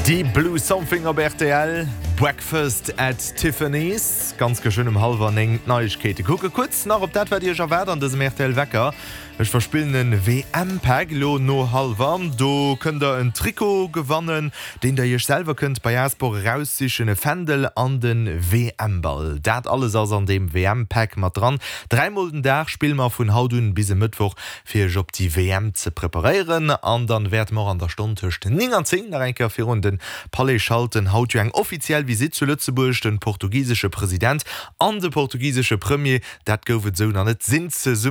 Deep Blue Something op rtl, Breakfast at Tiffany's. Ganz geschwënn um hallwer 9 d'Neiegkeete. Kucke kuerz nach op dat wat Iech erwaart an dësem rtl Wecker. Ech verspillen en WM-Pack elo no hallwer. Do kënnt der en Trikot gewannen, deen der Iech selwer kënnt bei Asport eraussichen, e Fändel an den WM-Ball. Dat alles ass an deem WM-Pack mat dran. Dräimol den Dag spille mer vun haut un bis e Mëttwoch fir iech op déi WM ze preparéieren. An dann wäerte mer och an der Stonn tëscht 9 an 10 nach eng Kéier virun den Palais schalten. Haut jo eng offiziell Visitt zu Lëtzebuerg, den portugisesche President an de portugisesche Premier, dat gouf et esou nach net, sinn zesummen.